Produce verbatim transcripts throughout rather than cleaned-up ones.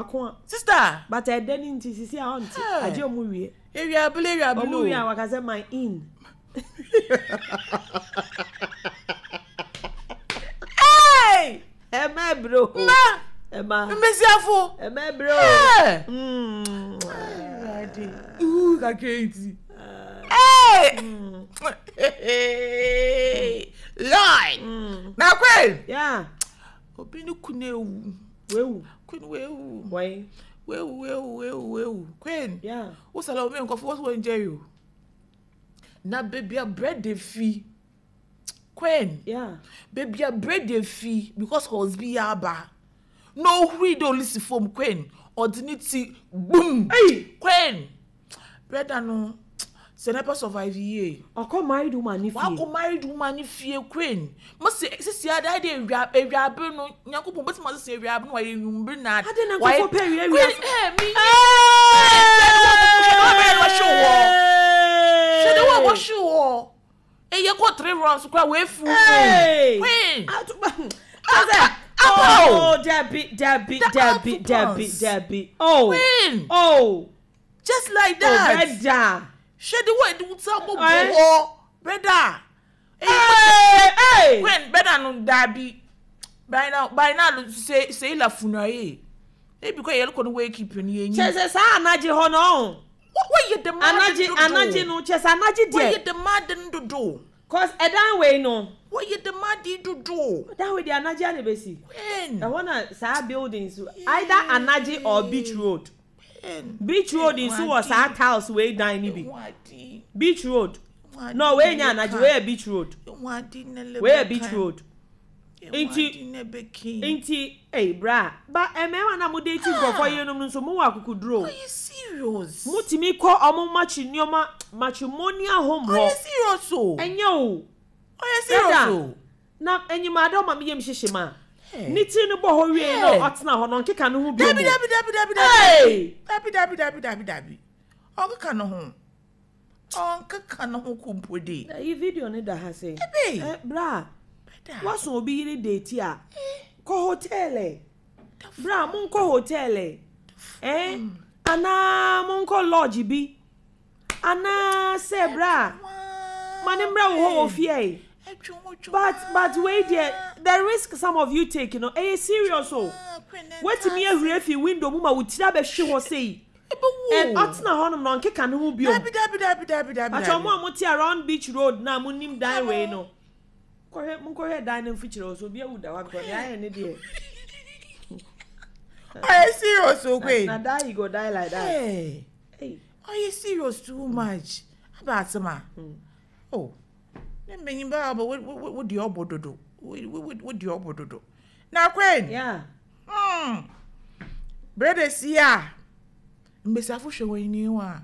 Wako a. Sister. But ɛdɛ ne nti sisi a ɔnte. Hey. Agye ɔmo wie. Ewiabele, ewiabele. Ɔmo wie a waka sɛ my in. Hey! Ɛmɛ bro. Ma! Ɛma. Mbesiafo. Ɛmɛ bro. Hey! Mm. Ooh, kakra nti. Hey! Lord! Mm. Na Queen! Yeah. Obi ne kunu ewu. Wewu. Queen wewu. Why? Wewu, wewu, wewu, wewu. Queen. Yeah. Wosala omi nkɔfo wɔso wɔn ngye yi o. Na beebi a bread dey fi. Queen. Yeah. Beebi a bread dey fi because husband aba. Na ohuri de olisi fam, Queen. Ɔde ne ti boom. Hey! Queen. Brother no sɛ nepa survive yie. Ɔkɔ married woman ne fie. Wakɔ married woman ne fie, Queen. Mo se sisi ada de ewia ewiabe no Nyankopɔn bɛtumi asese ewiabe no wayɛ nwumbere na. Ade na nkɔfo pɛ ewia ewia. Queen eh mi. Hwɛ de wɔ hwɛ de wɔ wɔhwe wɔ. Eye kɔ three rounds kora wɔ efu. Hey! Queen. Atuba. Ase. Abo. Oh, Debbie, Debbie, The Debbie, Apple Debbie, Pons. Debbie. Oh. Queen. Oh. Just like Oh, that. brother. Hwɛ de wɔ edi wuta mo Eh? bɔ hɔ. Brother. Hey, hey. Queen, brother no dabi. By now by now say say la funaye. Ebi kɔ yɛlɛ kɔ no wake keep ni enyi. Kyɛ sɛ saa anagye hɔ no. What yɛ the mad Anagye, anagye no, kyɛ sɛ anagye What deɛ. yɛ the mad dodo. Cause ɛdan wei no. What yɛ the mad dodo. Ɛdan wei deɛ anagye ana besi. Queen. Ɛhɔ na saa buildings either anagye or Beach Road. Queen. Beach Road nso wɔ saa tiles wei dan ni bi. Wadi. Beach Road. No, wei nyɛ anagye, wei yɛ Beach Road. Wadi nele. Wei yɛ Beach Road. Nti. Nti, ei bra, ba mmarima na mo de ti nkurɔfoɔ yerenom no nso mo wɔ akokoduro. Are you serious? Motumi kɔ ɔmo matri nneɛma matrimonial home Are hɔ. you serious o? Ɛnyɛ o. Are you serious Brother. o? Na enyim ade ɔma mi yam hyehyɛ ma. Hey. Ne tiri no bɔ hɔ wie na Hey. ɔtena hɔ no ɔnkeka ne ho bio. Dabi, dabi, dabi, dabi, dabi. Hey! Dabi, dabi, dabi, dabi, dabi. Ɔnkeka ne ho. Ɔnkeka ne ho kumpo de. Ɛyi video ne da ha sɛ. Ebe. Ɛ bra, Brother. waso obi yere date a, kɔ hotel ɛ. Bra, monkɔ hotel ɛ. Ɛ anaa monkɔ lodge bi. Anaa sɛ bra, ma ne mbrɛ wo hɔ wɔ fie yi. But but wei deɛ, the risk some of you take no, ɛyɛ serious o. Wetin ahuri afi window mu ma wo tiri abɛhwe hɔ sei. And ɔtena hɔnom na ɔnkeka ne ho bio. Dabi, dabi, dabi, dabi, dabi. Atwa ɔmo a mote around Beach Road na mo nim dan wei no. Kɔhwɛ, monkɔhwɛ dan no mfikyire hɔ so obi awu da hɔ because nea ayɛ ne deɛ. Are you serious o, Queen? Na die you go die like that. Hey. Hey. Are you serious too much? Aba asema. Oh. Ne mbenyin ba aba wo wo wo di obo dodo. Wo wo wo di obo dodo. Na Queen. Yeah. Hmm. Brother si a. Mbesiafo hwɛ wɔn ani wa.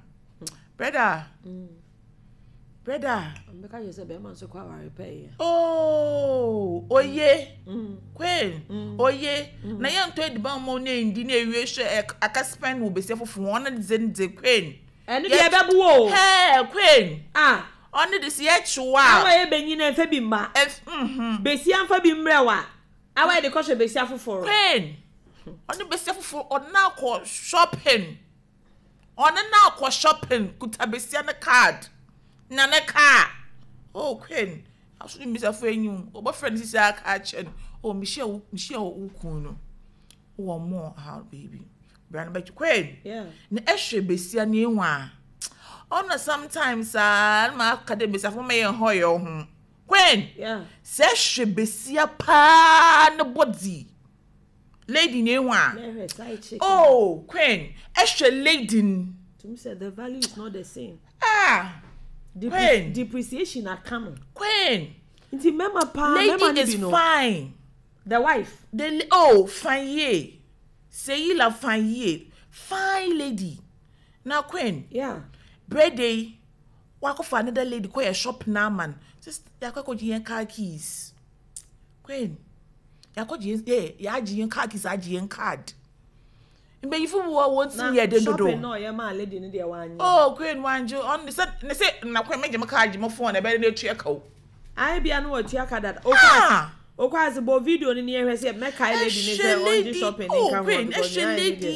Brother. Brother. Mbɛka kyerɛ sɛ bɛrima nso kɔ aware pɛ yɛ. Oh, oye. Queen. Oye. Na yɛn ntɔ ediban mo na endi na ewie hwɛ aka spend wo besia fofo wɔn de de Queen. Ɛno deɛ ɛbɛbu o. Hey, Queen. Ah. Ɔne de si ɛkyewa. Awa yɛ benyin na mfa bi mma. Ɛf mhm. Besia mfa bi mbrɛ wa. Awa yɛ de kɔhwɛ besia foforɔ. Queen. Ɔne besia foforo ɔne na akɔ shopping. Ɔne na akɔ shopping kuta besia ne card. Na ne car. Oh, Queen. Aso ne besia fo enyi. Ɔbɛfrɛ ne sisi aka akyɛ no. Oh, mehyia wo mehyia wo kun no. Wɔ mo how baby. Bra no bɛkye Queen. Yeah. Na ɛhwɛ besia ne ehu a. Ɔno sometimes ah na aka de besia fo ma yɛn hɔ yɛ ho. Queen. Yeah. Sɛ ɛhwɛ besia paa ne body. Lady ne ehu a. Na ɛhwɛ side chick. Oh, Queen. Ɛhwɛ lady n. Tumi sɛ the value is not the same. Ah, Depre Queen. Depreciation aka no. Queen. Nti mmarima paa mmarima Lady no is bi no. fine. The wife. The oh, fine yie. Seyi la fine yie. Fine lady. Na Queen. Yeah. Birthday. Wakɔfa another lady kɔ yɛ shop na man. Sis yakɔ akɔgye yɛn car keys. Queen. Yakɔgye yɛn yeah, yɛagye yɛn car keys, agye yɛn card. Mbɛyifo bi wɔ wɔn ti yɛ den dodo. Shopping na ɔyɛ maa lady no deɛ wanyɛ. Oh, Queen wangye ɔn ne sɛ ne sɛ na Queen mɛgye me card, gye me phone ɛbɛyɛ ne etua ka o. Ayi bia no wɔtua ka dada. Ah! Okɔ ase bɔ video no ni yɛhwɛ sɛ mɛkae lady ne sɛ Ɛhwɛ ɔngye lady shopping ne oh nka ho Queen because ɛhwɛ nea ayɛ ne lady deɛ. yi.